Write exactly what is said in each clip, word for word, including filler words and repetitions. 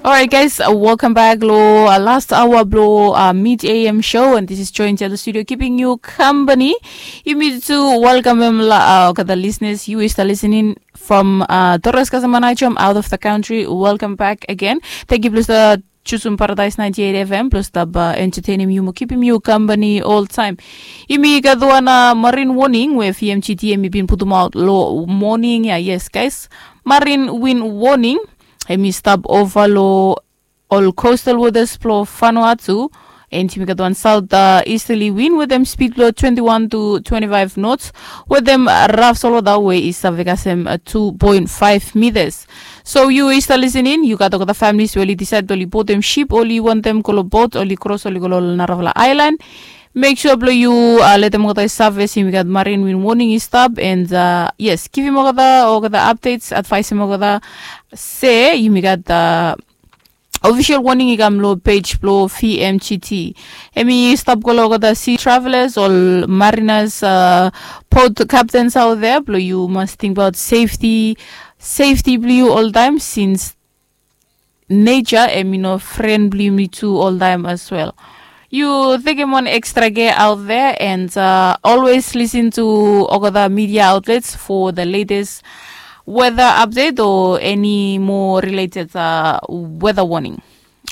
Alright, guys, uh, welcome back lo uh, last hour blo uh, Mid A M show, and this is Joint Yellow Studio keeping you company. Yumi tu welcome him la uh, kata listeners. You is the listening from uh, Torres Kasamanachum out of the country. Welcome back again. Thank you, plus the Chusum Paradise ninety-eight F M, plus the uh, entertaining you, keeping you company all time. Yumi gat wan uh, marine warning we V M G T yumi bin putum out lo morning ya. Yes, guys, marine wind warning. Hemi stap ova lo ol coastal waters blo Vanuatu. And yumi gat wan south uh, easterly wind with them speed blo twenty-one to twenty-five knots with them uh, rough solwata we is uh, vegasem uh, two point five meters. So you is the listening, you gat olgeta families we oli decide oli botem ship, oli wantem go lo boat, oli cross, oli go lo narafala island. Make sure blo you uh, letem olgeta i surface, yumi gat marine wind warning i stap, and uh, yes, givim olgeta olgeta updates, advice olgeta se yumi gat uh, official warning i kam lo page blo V M G T. Hemi stap go lo olgeta sea travelers, ol mariners, uh, boat captains out there, blo you must think about safety, safety blo you all time, since nature hemi no friend blo yumi tu all time as well. You tekem wan extra care out there and uh, always listen to olgeta media outlets for the latest weather update or any more related uh, weather warning.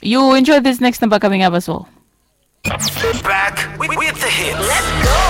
You enjoy this next number coming up as well. Back with, with the hits.